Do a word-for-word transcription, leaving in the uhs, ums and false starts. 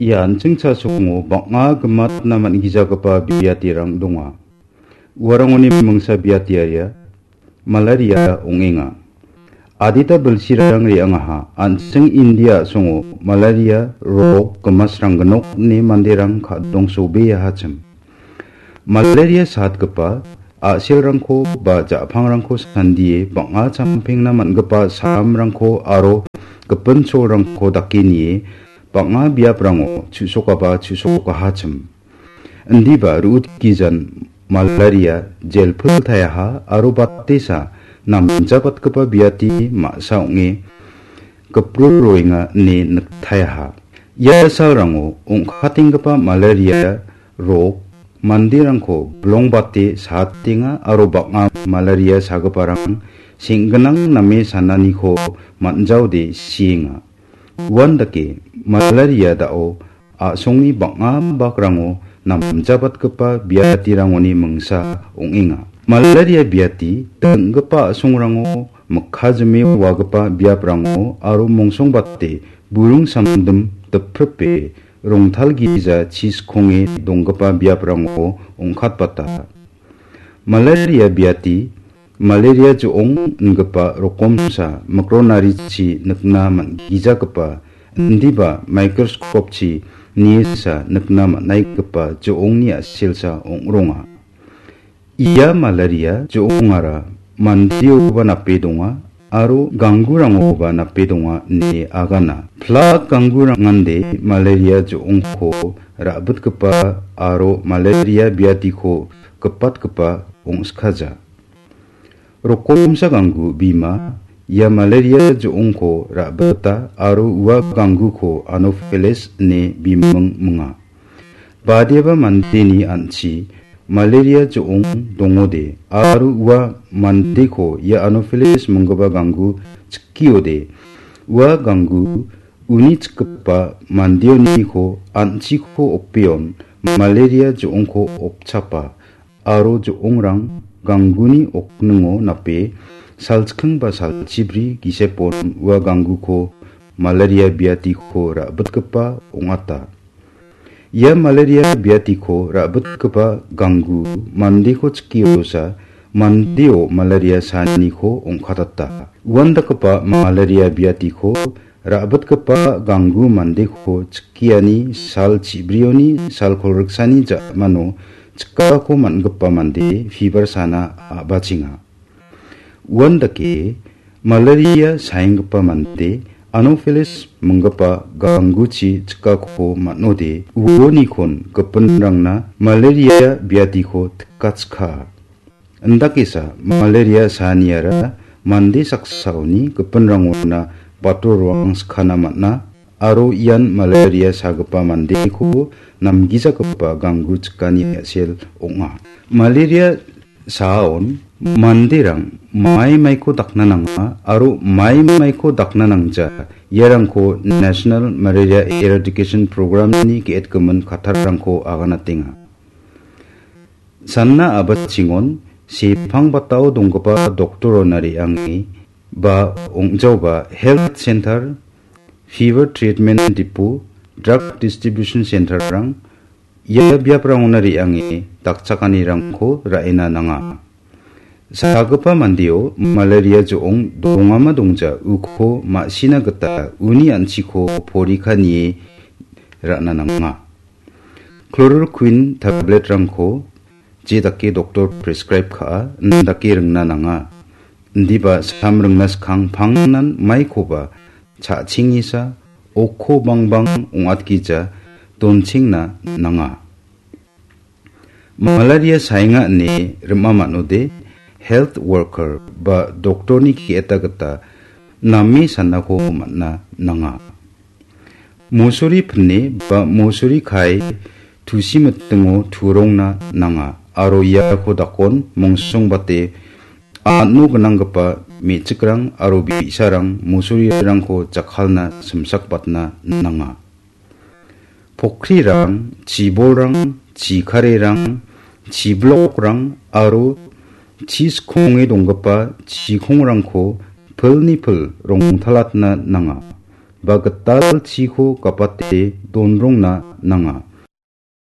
Ia an·ching chasongo bang·a gimatna man·gijagipa biatirang donga. Uarangoni mingsa biatiaria malaria ong·enga. Adita bilsirang re·angaha, an·ching India a·songo malaria rok gimasrangginok ine manderang ka·dongsobea hachim. Malaria saatgipa a·selrangko ba ja·pangrangko sandie bang·a champengna man·gipa saramrangko aro gipin cholrangko dake nie bang·a biaprango chu·sokaba chu·sokahachim. Indiba ru·utgijan malaria jelpil taiaha aro batesa namjabatgipa biati ma·sa ong·e gipru roenga ine niktaiaha. Ia salrango ong·katenggipa malaria rok manderangko bilongbate saatenga aro bang·a malaria sagiparang seng·ginang name sananiko man·jaode sienga. Uandake malaria da·o a·songni bang·a bakrango namjabatgipa biatirangoni mingsa ong·enga. Malaria biati dinggipa a·songrango mikajime wagipa biaprango aro mongsongbate burung samdim dipripe rongtalgija chiskonge donggipa biaprango ong·katbata. Malaria biati, malaria jo·ong ingipa rokomsa mikronarichi nikna man·gijagipa indiba microscope-chi niesa nikna man·aigipa jo·ongni a·selsa ong·ronga. Ia malaria jo·ongara mandeoba nape donga aro ganggurangoba nape donga ine agana. Plak ganggurangande malaria jo·ongko ra·bitgipa aro malaria biatiko gipatgipa ong·skaja. Rokomsa ganggu bima ia malaria jo·ongko ra·bita aro ua gangguko Anopheles ine biming minga. Badiaba mandeni an·chi malaria jo·ong dongode aro ua mandeko ia Anopheles minggipa ganggu chikiode, ua ganggu uni chikgipa mandeoniko an·chiko opeon malaria jo·ongko opchapa aro jo·ongrang gangguni okningo nape salchking ba salchibri gisepon ua gangguko malaria biatiko ra·bitgipa ong·ata. Ia malaria biatiko ra·bitgipa ganggu mandeko chikiosa mandeo malaria saaniko ong·katata. Uandakgipa malaria biatiko ra·bitgipa ganggu mandeko chikiani sal chibrioni sal kolgriksani ja·mano chikako man·gipa mande fiber sana a·bachenga. Uandake malaria saenggipa mande Anopheles minggipa gangguchi chikako man·ode uonikon gipinrangna malaria biatiko tikachkaa. Indakesa malaria saaniara mande saksaoni gipinrangona bator roang skana man·a aro ian malaria sagipa mandeko namgijagipa ganggu chikani a·sel ong·a. Malaria saaon manderang mai maiko dakna nanga aro mai maiko dakna nangja iarangko National Malaria Eradication Program-ni ge·etgimin kattarrangko aganatenga. Sanna a·bachingon sepang batao donggipa doktorona re·ange ba ong·jaoba health center, fever treatment depot, drug distribution center-rang ia biaprangona re·ange dakchakanirangko ra·ena nanga. Sagipa mandeo malaria jo·ong dongama dongja uko ma·sina gita uni an·chiko porikanie ra·na nanga. Chloroquine tablet-rangko je dake doktor prescribe ka·a, indake ringna nanga. Indiba sam ringna skang pangnan maikoba cha·chengesa, okko bangbang ong·atgija donchengna nanga. Malaria saenga ine rima man·ode, health worker ba doktorni ge·eta gita name sanako man·na nanga. Mosori pine ba mosori kae tusi mitingo turongna nanga aro iako dakon mongsongbate a·no gnanggipa me·chikrang aro bi·sarang mosorirangko jakkalna simsakbatna nanga. Pokrirang, chibolrang, chikarerang, chiblokrang aro chiskonge donggipa chikongrangko pilni pil rongtalatna nanga. ba gital chiko gapate donrongna nanga.